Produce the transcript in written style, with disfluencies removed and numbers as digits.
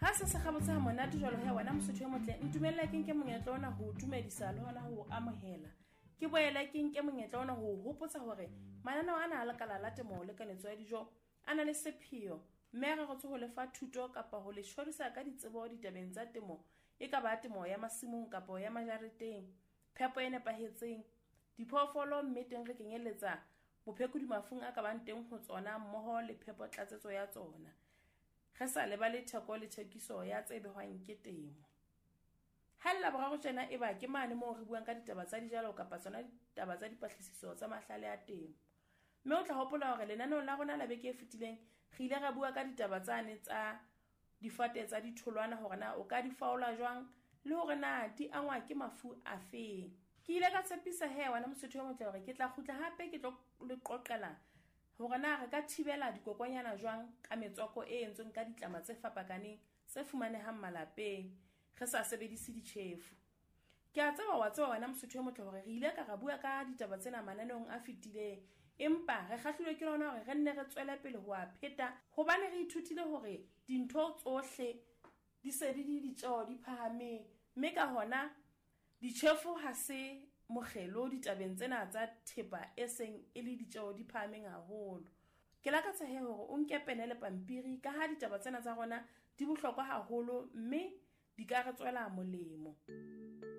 Ha se se gabotse ha monate jwalo he wena Mosotho e motle, ntumella ke nke monyetla ona ho o dumedisa le hona ho o amohela. Ke boele ke nke monyetla ona ho o hopotsa hore mananeo ana a Lekala la Temo le Kanetso ya Dijo a na le sepheo mme a reretswe ho lefa thuto kapa ho le tjhorisa ka ditsebo ditabeng tsa temo, e ka ba temo ya masimong kapa ya majareteng, phepo e nepahetseng, diphoofolo mme teng re kenyeletsa bophekodi mafung a ka bang teng ho tsona mmoho le phepo tlatsetso ya tsona, re sa lebale theko le thekiso ya tse behwang ke temo. Ha le Laboraro tjena e ba ke mane moo re buang ka ditaba tsa dijalo kapa tsona ditaba tsa dipatlisiso tsa mahlale a temo. Mme o tla hopola hore lenaneong la rona la beke e fetileng re ile ra bua ka ditaba tsane tsa difate tsa ditholwana, hore na o ka di faola jwang le hore na di angwa ke mafu afeng. Ke ile ka tshepisa he wena Mosotho e motle hore ke tla kgutla hape ke tlo le qoqela hore na re ka thibela dikokwanyana jwang ka metswako e entsweng ka ditlama tse fapakaneng tse fumanehang malapeng, re sa sebedise ditjhefu. Ke a tseba wa tseba wena Mosotho e motle hore re ile ka ra bua ka ditaba tsena mananeong a fetileng, empa re kgahlilwe ke lona hore re nne re tswele pele ho a pheta, hobane re ithutile hore dintho tsohle di se di le ditjeo di phahameng, mme ka hona ditjhefu ha se mokgelo ditabeng tsena tsa thepa e seng e le ditjeo di phahameng haholo. Ke lakatsa he hore o nke pene le pampiri, ka ha ditaba tsena tsa rona di bohlokwa haholo mme di ka re tswela molemo.